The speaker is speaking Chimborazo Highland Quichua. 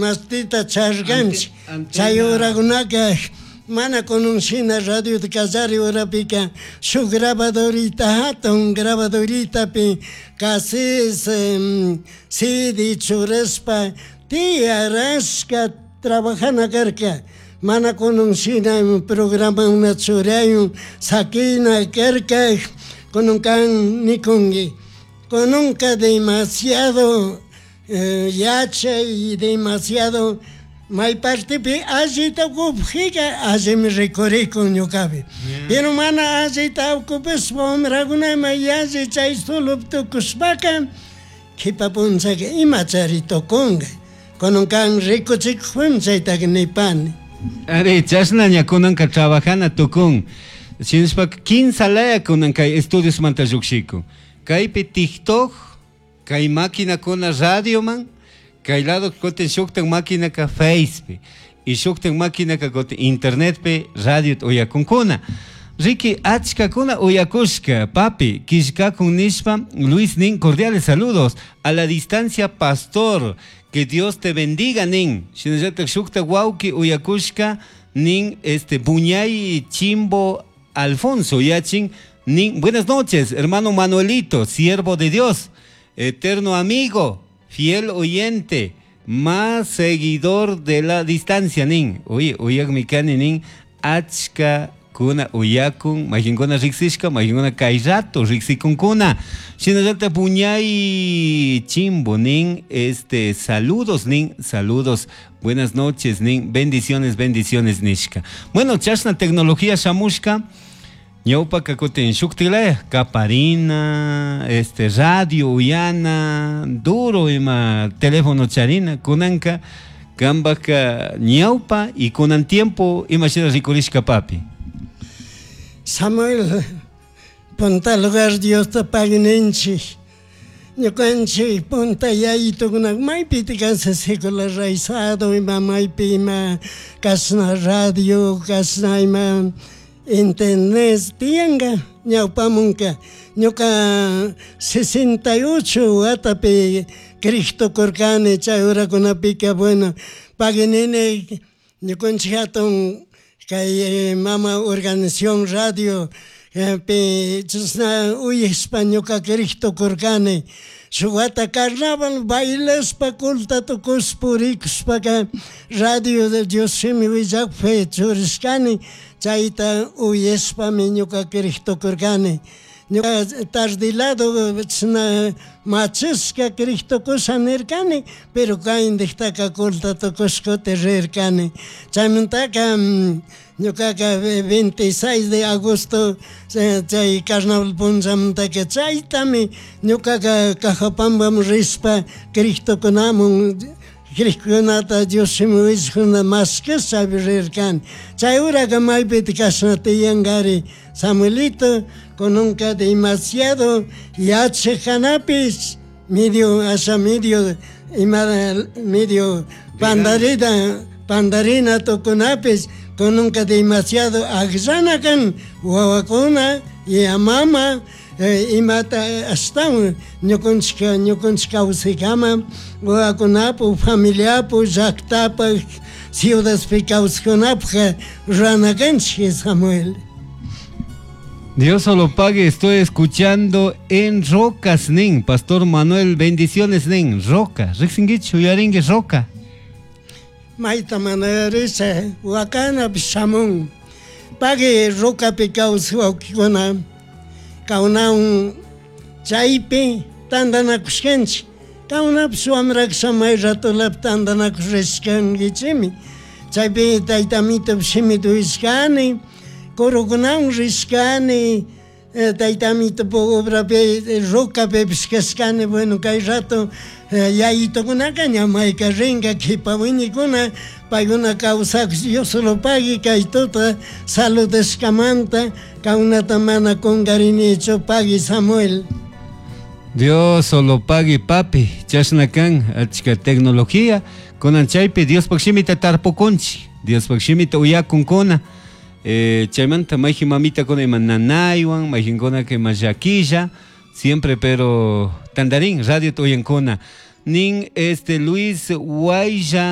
Imastita charganchik. Chay urakunaka mana kunan shina radiota kallari urapika shuk grabadorita hatun grabadoritapi cassette, CD churashpa tiyarashka trabajana karka. Mana kunan shina programakuna churayun sakina karka kunan kan nikunki. Kunanka demasiado yachay demasiado may partepi allita ocupajika allimi rikurikun ñukapi. Pero mana allita ocupashpa wamrakuna yalli chay solo tukushpaka kipa punchaka imachari tukunka. Kunan kan rikuchikujpimi chaytaka nipani. Ari, chashna ña kunanka trabajana tukun. Shinashpaka kinsa laya kunan kay estudiosmanta llukshikun. Kaypi TikTok, kay maquinakuna radioman, kay lado kutin shuktak maquinaka Facepi y shuktak maquinaka kutin internetpi radio uyakunkuna. Ricky, achkakuna uyakushka, papi, kishkakun nishpa, Luis nin, cordiales saludos, a la distancia pastor, que Dios te bendiga nin. Shinallatak shuktak wawki uyakushka nin, este, Buñay Chimbo Alfonso yachin nin, buenas noches, hermano Manuelito, siervo de Dios, eterno amigo, fiel oyente, más seguidor de la distancia nin. Oye, uyakmi kani nin, achka kuna uyakun, mayqinkuna riqsishka, mayqinkuna kay rato riqsikunkuna. Shinallata Buñay Chimbo nin, este, saludos nin, saludos, buenas noches nin, bendiciones, bendiciones nishka. Bueno, chashna tecnología shamushka, ñawpaka kutin shuktilaya, kaparina, este, radio uyana, duro ima teléfono charina, kunanka, kambaka ñawpa y kunan tiempo ima shina rikurishka papi. Samuel, punta lugar Diosta pagui ninchik. Ñukanchik punta yayitukunak maypita kasha secularizado ima maypi ima kashna radio, kashna ima internet tiyanka ñawpamunka. Ñuka 68 watapi Cristo kurkani chay urakunapika bueno, pagui nini ñukanchik hatun kay mama organización radio pi chashna uyashpa ñuka Cristo kurkani. Shuk wata carnaval bailashpa culta tukushpa purikushpaka radio de Dios shimi willakpi churishkani chayta uyashpami ñuka Cristo kurkani. Ñuka tarde lado chashna machashka Cristo kusha nirkani, pero kayndijtaka culta tukushkuti rirkani. Chaymantaka ñukaka 26 de agosto chay carnaval punchamantaka chaytami ñukaka Cajapampaman rishpa Cristokunamun Cristokunata Dios shimi willakuna mashkasha chaypi rirkani. Chay uraka maypita kashna tiyankari Samuelito, kunanka demasiado yachak kanapish medio asha medio ima medio pandarita pandarina tukunapish kunanka demasiado akllana kan wawakuna y mama imata ashtawan ñukanchik ñukanchik kawsaykama wawakunapu familiapu llaktapak ciudadpi kawsakkunapuk rurana kanchik Samuel. Dios solo pague, estoy escuchando en Rocas, nin. Pastor Manuel, bendiciones, nin. Roca, riqsinkichu, uyarinki Roca. Mayta mana risha, wakanapish shamun. Pagui Rocapi kawsak wawkikuna, kawnawan chaypi tantanakushkanchik. Kawnapish wamrakasha may ratulapi tantanakush rishkankichikmi. Chaypi tayta Amitopish shimita uyashkani, kurukunawan rishkani, tayta Amitopak obrapi Rocapipish kashkani, bueno kay rato yayitukunaka ña mayka rinka kipa wiñaykuna paykuna kawsakush Dios solo pagui kay tuta saludashkamanta kawnata mana kunkarinichu pagui Samuel. Dios solo pagui papi, chashna kan achka tecnología, kunan chaypi Diospak shimita tarpukunchik, Diospak shimita uyakunkuna. Chaymanta mayjin mamitakuna ima nanaywan, mayjinkunaka ima llakilla, siempre pero tandarin radio uyankuna. Nin este Luis Guaya.